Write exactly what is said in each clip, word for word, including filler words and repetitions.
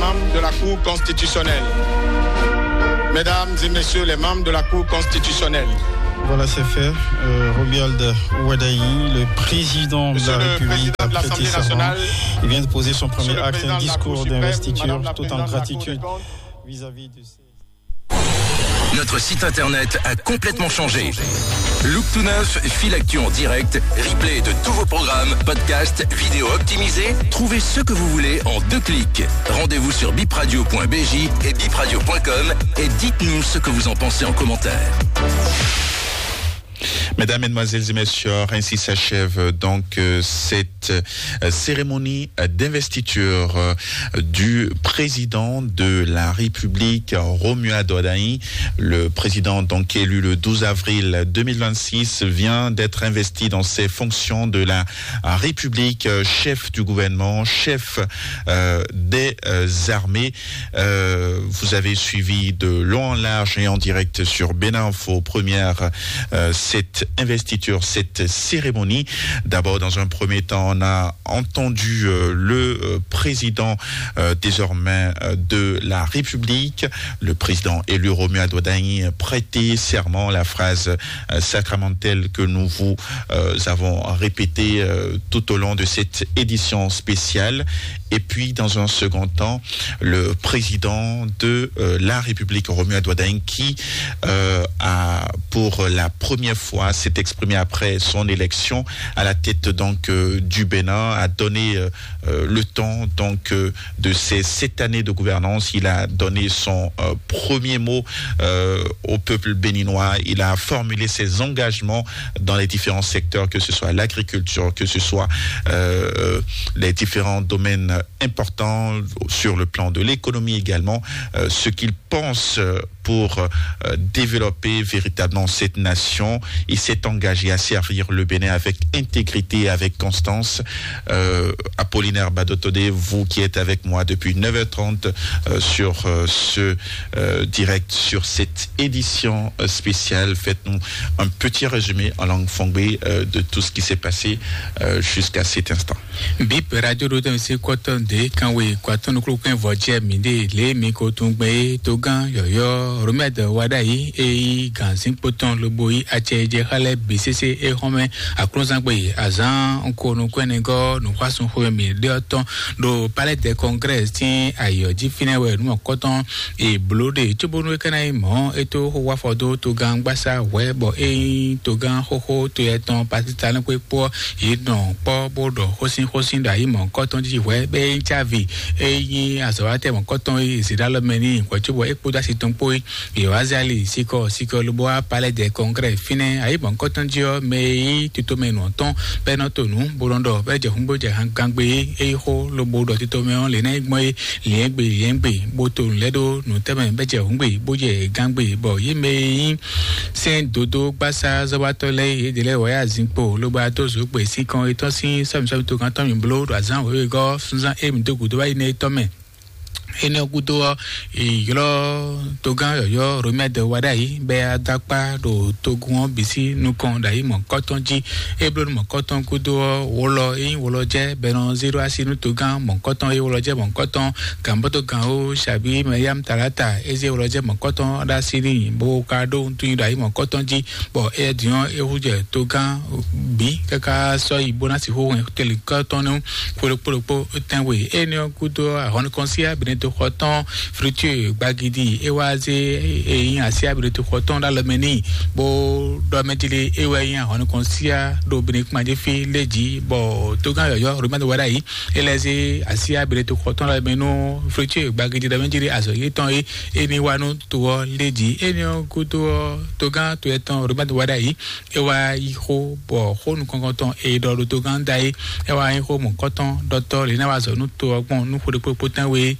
Membres de la Cour constitutionnelle. Mesdames et messieurs les membres de la Cour constitutionnelle. Voilà, c'est fait. Euh, Romuald Wadagni, le président de la République, a prêté serment. Il vient de poser son premier acte, un discours d'investiture, tout en gratitude vis-à-vis de ses... Notre site internet a complètement changé. Look tout neuf, fil actu en direct, replay de tous vos programmes, podcasts, vidéos optimisées. Trouvez ce que vous voulez en deux clics. Rendez-vous sur bipradio point b j et bipradio point com et dites-nous ce que vous en pensez en commentaire. Mesdames, Mesdemoiselles et Messieurs, ainsi s'achève donc euh, cette euh, cérémonie euh, d'investiture euh, du président de la République, Romuald Wadagni, le président donc élu le douze avril deux mille vingt-six, vient d'être investi dans ses fonctions de la République, euh, chef du gouvernement, chef euh, des euh, armées. Euh, vous avez suivi de long en large et en direct sur Bénin Info Première euh, cette investiture, cette cérémonie. D'abord, dans un premier temps, on a entendu euh, le euh, président euh, désormais euh, de la République, le président élu Romuald Wadagni, prêter serment, la phrase euh, sacramentelle que nous vous euh, avons répétée euh, tout au long de cette édition spéciale. Et puis, dans un second temps, le président de euh, la République, Romuald Wadagni, qui euh, a, pour la première fois, s'est exprimé après son élection à la tête donc euh, du Bénin, a donné euh, euh, le temps donc euh, de ces sept années de gouvernance. Il a donné son euh, premier mot euh, au peuple béninois. Il a formulé ses engagements dans les différents secteurs, que ce soit l'agriculture, que ce soit euh, les différents domaines importants sur le plan de l'économie également, euh, ce qu'il pense euh, pour euh, développer véritablement cette nation. Il s'est engagé à servir le Bénin avec intégrité et avec constance. Euh, Apollinaire Badotodé, vous qui êtes avec moi depuis neuf heures trente euh, sur euh, ce euh, direct, sur cette édition euh, spéciale, faites-nous un petit résumé en langue fongbe euh, de tout ce qui s'est passé euh, jusqu'à cet instant. Bip radio ɖo tɛn se kɔtɔn de kan we kɔtɔn nuklo kɛn vɔ jɛ mi de le mi ko tun gbe to gan yɔyɔ Romɛd Wadayi e yi ganzin kpotɔn lobo yi acɛ jɛ xalɛ bi sese e xɔmɛ aklɔzangbe azan ko nu kwɛnɛ gɔ nu xwasun xwe mi de tɔn ɖo palais de congrès tin ayɔ ji finɛ wɛ nu kɔtɔn e blo de tsobonu e kana yi mɔ e to xo wafɔ do to gan gbasa wɛ bɔ e yi to gan xoxo to yɛ tɔn pakistan kpekpo yi nɔ kpɔ bó ɖɔ xósin xósin ɖo ayi mɔ̌hunkɔtɔn jí hwɛ̌ bɔ é nyí cávi é nyí azɔ̌watɛ́ mɔ̌hunkɔtɔn e zǐɖalɔmɛ n'i hwɛ̌ cóbɔ é kpódó asi tɔn kpó yi. Yoazali sikɔ sikɔ lobo wá palais de congrès fínɛ́ ayi mɔ̌hunkɔtɔn jí ɔ́, mɛ e nyí titomɛ nǔ ɔ́ tɔn bɔ é nɔ to nǔ bó nɔ ɖɔ bɔ é jɛ hǔn bó jɛ gangbe é é yi xó lobo ɖɔ titomɛ ɔ́ lě ná yi gbɔn é liɛ́ngbe liɛ́ngbe bó to nǔ lɛ́ɛ ɖó nǔtɛ́mɛ bɔ é jɛ hǔngbe bó jɛ gangbe bɔ yě mɛ e nyí sɛ́n dodó gbásá zɔ́wátɔ́ lɛ́ɛ yědɛɛ lɛ́ɛ wɔ yá zinkpo lobo adó zǒgbe sín kɔn etɔ́ sín sɔ́mǐsɔ́mí togán tɔn mì bló ɖo azǎn wěwegɔ́ súnzán émi dó gǔdo wá yi nɛ étɔ́ mɛ. Énɛ́ ɔ́ gúdo ɔ́, è ylɔ́ togán yɔ̌yɔ́ Romɛ́d wá ɖ'ayǐ bɔ é wá dó akpá ɖo togun ɔ́ bǐ sín nukɔn ɖo ayǐ mɔ̌hunkɔtɔn jí. É bló nú mɔ̌hunkɔtɔn gúdo ɔ́, wlɔ é nyí wlɔjɛ́ bɔ è nɔ zé ɖó así nú togán mɔ̌hunkɔtɔn é wlɔjɛ́ mɔ̌hunkɔtɔn gǎnbɔ́tɔgán ó Shabí Mɛyámu Talata é zé wlɔjɛ́ mɔ̌hunkɔtɔn ɖó así n'i bó ka ɖó wuntun nyi ɖo ayǐ mɔ̌hunkɔtɔn jí, bɔ é din ɔ́ é hú jɛ togán bǐ káká sɔ́ yi bó ná sixú hɛn tɛlǐnkɔ́tɔn nú xwe ɖokpó ɖokpó tɛ́nwe. Énɛ́ ɔ́ gúdo ɔ́, ahɔ́núkɔn sí Abinɛtoxɔ tɔn Friture Gbagidi é wá zé e nyí así Abinɛtoxɔ tɔn ɖó alɔ mɛ n'i, bó ɖɔ mɛ jí lé é wɛ nyí ahɔ́núkɔn sí ɖo Benekuma jí fí lé jí, bɔ togán yɔ̌yɔ́ Romɛ́n wá ɖ'ayǐ é lɛ́ zé así Abinɛtoxɔ tɔn ɖó alɔ mɛ nú Friture Gbagidi ɖɔ mɛ jí lé azɔ̌ yětɔn é é ní wá nú to ɔ́ lé jí. Énɛ́ ɔ́ gúdo ɔ́, togán to etɔn Romɛ́n wá ɖ'ayǐ é wá yí xó bɔ xó nukɔntɔn e ɖɔ ɖo togán da é é wá nyí xó mɔ̌kɔtɔn ɖɔtɔ́ lě ná wá zɔ nú to ɔ́ gbɔn nú xwe ɖokpó tɛ́nwe.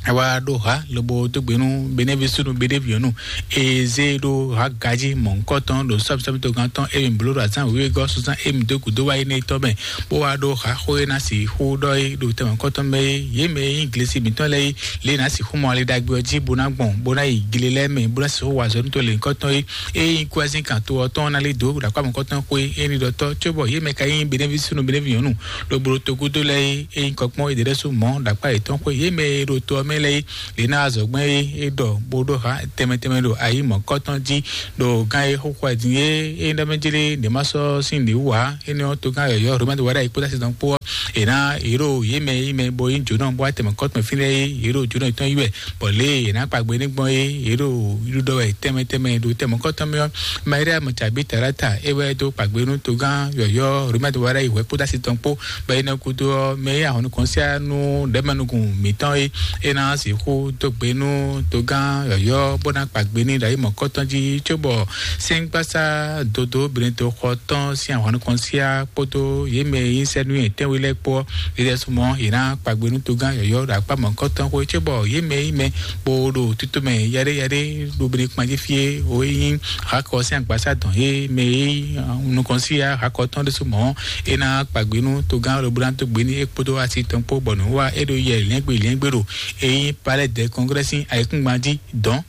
Wá ɖó ha lobo dó gbe nú Benɛvi súnnu Benɛvi ɔ́ nú eze ɖó ha gají mɔ̌hunkɔtɔn ɖo sɔ́misɔ́mi togán tɔn emi bló ɖo azán wěwé gɔ́ suzán emi dó gǔdo wá énɛ́ tɔn mɛ, bó wá ɖó ha xó e ná sixú ɖɔ é ɖo tɛmɛ kɔ́tɔn mɛ é. Yě mɛ e nyí glesi mǐtɔn lɛ́ɛ é, lě ná sixú mɔ ali ɖagbe ɔ́ jí bó ná gbɔn bó ná yi gle lɛ́ɛ mɛ bó ná sixú wa azɔ̌ nú to lěhunkɔtɔn é. Ényí kú azín kan to ɔ́ tɔn ná lí dǒ ɖo akpá mɔ̌kɔtɔn xwé é ní ɖɔtɔ́ cóbɔ yě mɛ ka nyí Benɛvi súnnu Benɛvi nyɔ̌nu ɖo bló togúdo lɛ́ɛ é, ényí kɔkpɔ́n é ɖě ɖésú mɔ̌ ɖo akpá yětɔn xwé. Yě mɛ e ɖo to ɔ́ mɛ lɛ́ɛ é, lě ná azɔ̌gbɛ́n é é ɖɔ bó ɖó ha tɛnmɛ tɛnmɛ ɖo ayi mɔ̌kɔtɔn jí ɖo gán e xóxó ɛ din é é ɖɔ mɛ jlé ɖě má sɔ́ sín ɖě wú ǎ. Énɛ́ ɔ́, togán yɔ̌yɔ́ Romɛ́ wa ɖ'ayǐ kpódó asi tɔn kpó ɔ́, è nǎ yě ɖo yě mɛ yí mɛ bɔ yí jǒnɔ bó wá tɛmɛ kɔ́tɔn fínɛ́ é, yě ɖo jǒnɔ yětɔn yí wɛ, bɔ lě e è nǎ kpa gbe ní gbɔn é, yě ɖo ɖiɖɔ wɛ tɛnmɛ tɛnmɛ ɖo tɛmɛ kɔ́tɔn mɛ ɔ́, Mariam tsagbí Talata é wɛ dó kpa gbe nú togán yɔ̌yɔ́ Romɛ́ wa ɖ'ayǐ hwɛ̌ kpódó asi tɔn kpó, bɔ énɛ́ gúdo ɔ́, mɛ e ahɔ̌nukɔn síá nú ɖɛ̌mɛnukun mǐtɔn é é ná sixú dó gbe nú togán yɔ̌yɔ́ bó ná kpa gbe n'i ɖo ayi mɔ̌kɔtɔn jí, cóbɔ sɛ́ngbásá dodó Benedexɔ tɔn sín ahwan nukɔn síá kpódó yě mɛ e nyí sɛ́nú nyɛ̌tɛ́nwe lɛ́ɛ kpó ɔ́, é ɖɛ́sú mɔ̌ yě ná kpa gbe nú togán yɔ̌yɔ́ ɖo akpá mɔ̌kɔtɔn xwé, cóbɔ yě mɛ e nyí mɛ bó ɖo títú mɛ yaɖéyaɖé ɖo Benekpan jí fí é, o e nyí Hakɔ sín agbasá dɔn é mɛ e nyí nukɔn síá Hakɔ tɔn ɖésú mɔ̌, é ná kpa gbe nú togán lobó ná dó gbe n'i é kpódó asi tɔn kpó, bɔ nǔ wa é ɖo yɛ lɛ́ngbé lɛ́ngbé ɖo é nyí Palais des Congrès sín ayǐkúngban jí dɔn.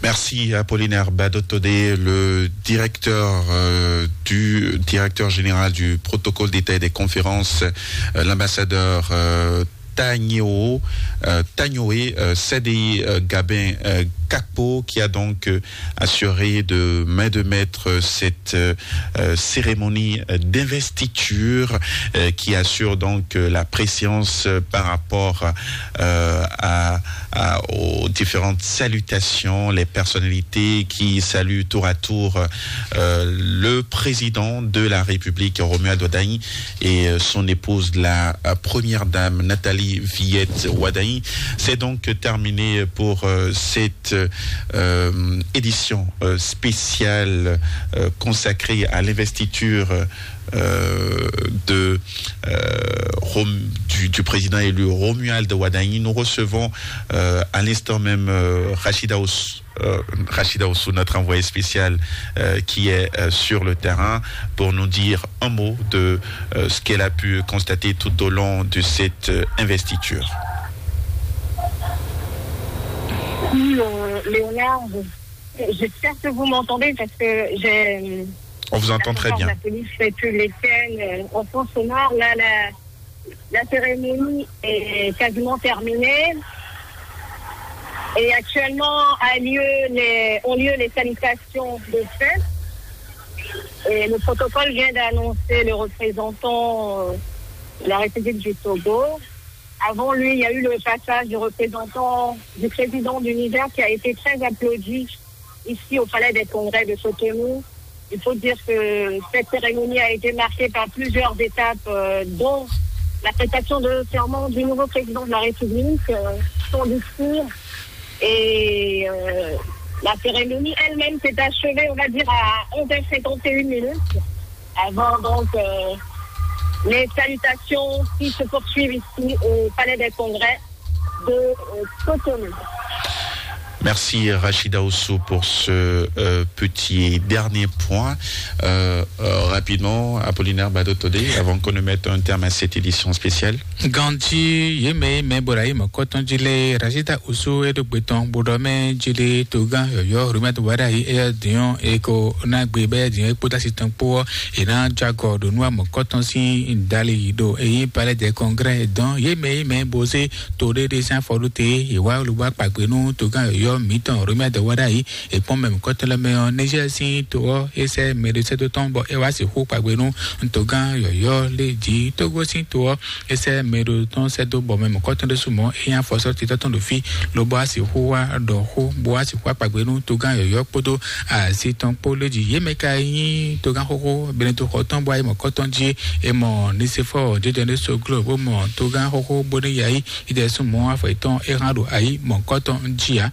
Merci Apollinaire Badotodé, le directeur euh, du directeur général du protocole d'État et des conférences, euh, l'ambassadeur euh, Tagno, euh, Tagnoé, euh, C D I euh, Gabin euh, Kakpo, qui a donc euh, assuré de main de maître cette euh, euh, cérémonie euh, d'investiture euh, qui assure donc euh, la préscience euh, par rapport euh, à, à- aux différentes salutations, les personnalités qui saluent tour à tour euh, le président de la République, Romuald Wadagni, et euh, son épouse, la euh, première dame, Nathalie Villette Wadagni. C'est donc terminé pour euh, cette euh, édition euh, spéciale euh, consacrée à l'investiture euh, de euh, Rom- du, du président élu Romuald Wadagni. Nous recevons euh, à l'instant même euh, Rachida Os- euh, Rachida Ossou, notre envoyée spéciale euh, qui est euh, sur le terrain, pour nous dire un mot de euh, ce qu'elle a pu constater tout au long de cette euh, investiture. Oui, euh, Léonard, j'espère que vous m'entendez parce que j'ai On vous entend très bien. La police fait que les scènes euh, en fond sonore. Là, la, la cérémonie est quasiment terminée. Et actuellement a lieu les, ont lieu les salutations de fête. Et le protocole vient d'annoncer le représentant euh, de la République du Togo. Avant lui, il y a eu le passage du représentant du président du Niger qui a été très applaudi ici au Palais des Congrès de Cotonou. Il faut dire que cette cérémonie a été marquée par plusieurs étapes, euh, dont la prestation de serment du nouveau président de la République, euh, son discours. Et euh, la cérémonie elle-même s'est achevée, on va dire, à onze heures cinquante et une minutes. Avant donc euh, les salutations qui se poursuivent ici au Palais des Congrès de euh, Cotonou. Merci Rachida Ossou pour ce euh, petit et dernier point. Euh, euh, rapidement, Apollinaire Badotodé, avant qu'on ne mette un terme à cette édition spéciale. Ganji yeme me borayi mɔkɔtɔn jile Rachida Ossou edo gbeton bodo me jile togan yɔyɔ Romuald Wadagni eya dion eko na gbe be dion ekpota sitan po ena jago do nua mɔkɔtɔn si dali do eyi palais de congrès don yeme me boze to ɖeɖe sín afɔɖóte yě wá lobɔ akpagbe nú togán yɔ̌yɔ́ mǐtɔn Romuald Wadagni. È kpɔ́n mɛ mɔ̌kɔtɔn lɛ́ɛ mɛ ɔ́, Niger sín to ɔ́, é sɛ́ mɛ ɖé sɛ́dó tɔn bɔ é wá sixú kpagbe nú togán yɔ̌yɔ́ lé jí. Togo sín to ɔ́, é sɛ́ mɛ ɖó tɔn sɛ́dó bɔ mɛ mɔ̌kɔtɔn ɖésú mɔ̌ é nyí afɔsɔ́ titɔ́ tɔn ɖo fí, lobo wá sixú wá ɖɔ xó, bó wá sixú wá kpagbe nú togán yɔ̌yɔ́ kpódó asi tɔn kpó lé jí. Yě mɛ ka nyí togán xóxó Benedexɔ tɔn bɔ ayé mɔ̌kɔtɔn jí é mɔ Nisefɔ jɛjɛ ɖé so gló bó mɔ togán xóxó bó ní yá yí. Idɛsúnmɔ afɔ yětɔn é hán ɖo ayǐ mɔ̌kɔtɔn jí ǎ.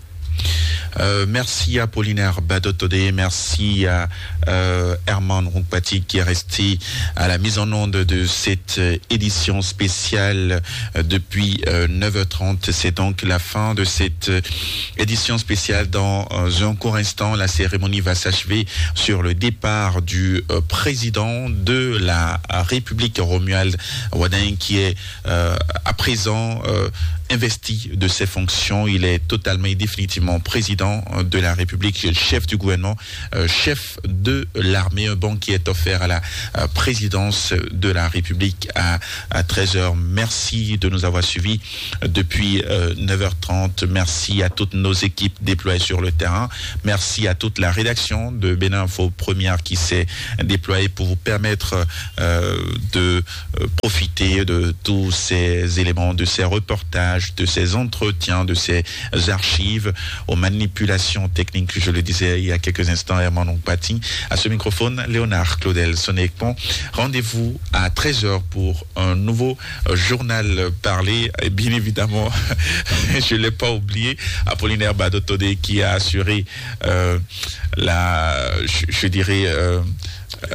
Euh, merci à Apollinaire Badotodé, merci à euh, Herman Rumpati qui est resté à la mise en onde de cette euh, édition spéciale euh, depuis euh, neuf heures trente. C'est donc la fin de cette euh, édition spéciale. Dans euh, un court instant, la cérémonie va s'achever sur le départ du euh, président de la République, Romuald Wadagni, qui est euh, à présent euh, investi de ses fonctions. Il est totalement et définitivement président de la République, chef du gouvernement, euh, chef de l'armée. Un banc qui est offert à la euh, présidence de la République à, à treize heures. Merci de nous avoir suivis depuis euh, neuf heures trente. Merci à toutes nos équipes déployées sur le terrain. Merci à toute la rédaction de Bénin Info Première qui s'est déployée pour vous permettre euh, de euh, profiter de tous ces éléments, de ces reportages, de ces entretiens, de ces archives. Aux manipulations techniques, je le disais il y a quelques instants, Herman Ompati. À ce microphone, Léonard Claudel Sonekpon. Rendez-vous à treize heures pour un nouveau euh, journal parlé. Et bien évidemment, je ne l'ai pas oublié, Apollinaire Badotodé qui a assuré euh, la, je, je dirais, euh, euh,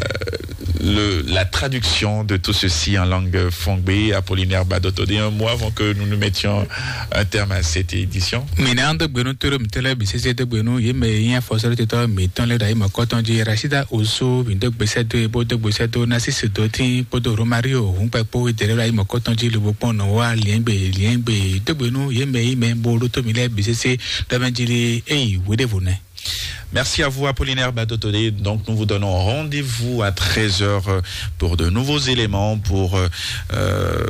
le, la traduction de tout ceci en langue fongbe. Apollinaire Badotodé, un mois avant que nous nous mettions un terme à cette édition. Mina do gbenu toro mitele bisese do gbenu ye me yin afɔsɔrɔ titɔ mitɔn le da yi mɔkɔtɔn ji Rashida Osu mi do gbese do ebo do gbese do Narcisse Dotin kpodo Romario Hunkpɛ kpo dere da yi mɔkɔtɔn ji lobo kpɔn nɔ wa liɛngbe liɛngbe do gbenu ye me yi mɛ bo ɖo to mi lɛ bisese dɔmɛ ji li eyi weɖevo nɛ. Merci à vous, Apollinaire Badotodé. Donc, nous vous donnons rendez-vous à treize heures pour de nouveaux éléments, pour euh, euh,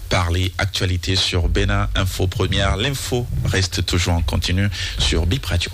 parler actualité sur Bénin Info Première. L'info reste toujours en continu sur Bip Radio.